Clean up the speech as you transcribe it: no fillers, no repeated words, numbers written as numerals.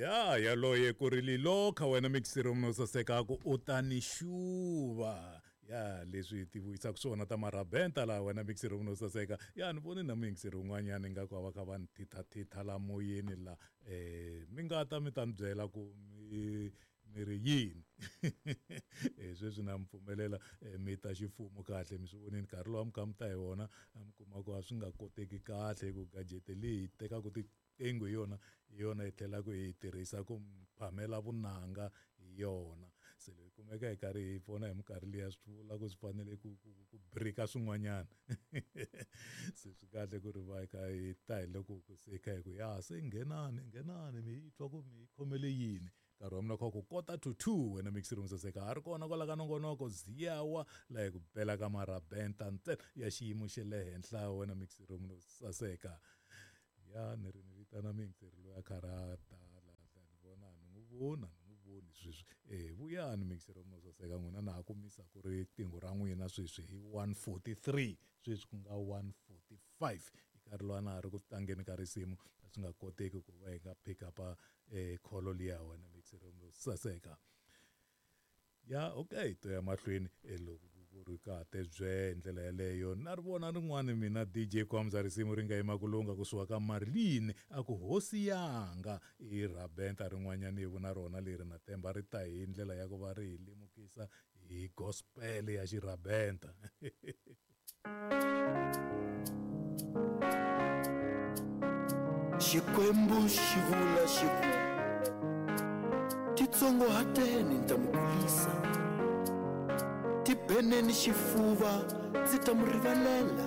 Ya yaloye ku ri lilokha wena mixiro munhu saseka ku u ta ni xuva. Ya leswi ti vuyisaka swona ta marabenta laha wena mixiro munhu saseka. Ya ni voni na mixiro un'wanyana ingaku a va kha va ni thithathitha la moyeni la. Mi nga ta mi ta ni byela ku mi mi ri yini. Sweswi na mi pfumelela mi ta ximfumo kahle, mi swi vonini nkarhi lowu a mi kha mi ta hi wona, a mi kuma ku a swi nga koteki kahle hi ku gadget leyi hi tekaka tiqingho hi yona, hi yona hi tlhelaka hi yi tirhisa ku phamela vunanga hi yona. Se loko hi kumeka hi karhi hi vona hi minkarhi liya, swi vula ku swi fanele ku break-a swin'wanyana. Se swi kahle ku ri va hi kha hi ta hi loko se hi kha hi ku ya se nghenani, nghenani mi yi twa ku mi yi khomele yini. Nkarhi wa mina kha ku 1:45, wena mixiro musaseka ha ri kona kwala ka nongonoko Ziyawa, laha hi ku bela ka marabenta ntsena ya xiyimo xa le henhla, wena mixiro munhu saseka. Ya ni ri ni vitana mixiro loyi a karhi a ta la, ni vona ni n'wi vona, ni n'wi voni sweswi. Vuyani mixiro munhu saseka, n'wina na ha ku misa ku ri riqingho ra n'wina sweswi hi 1:43, sweswi ku nga 1:45. Hi nkarhi lowu a na ha ri ku tlangeni ka risimu, a swi nga koteki ku va hi nga pick up-a kholo liya, wena mixiro munhu saseka. Ya okay, to ya mahlweni loko ku ri ka te bye hi ndlela yeleyo. Na ri vona rin'wani mina DJ Kwamza risimu ri nga yima ku lunga kusuka ka Marlene, a ku hosi yanga i rabenta rin'wanyana ivu na rona leri na temba ri ta hi ndlela ya ku va ri hi lemukisa hi gospel ya xirabenta. Xikwembu xi vula xi ku, titsongohateni ni ta mi kulisa, tibeneni xifuva ndzi ta mi rivalela.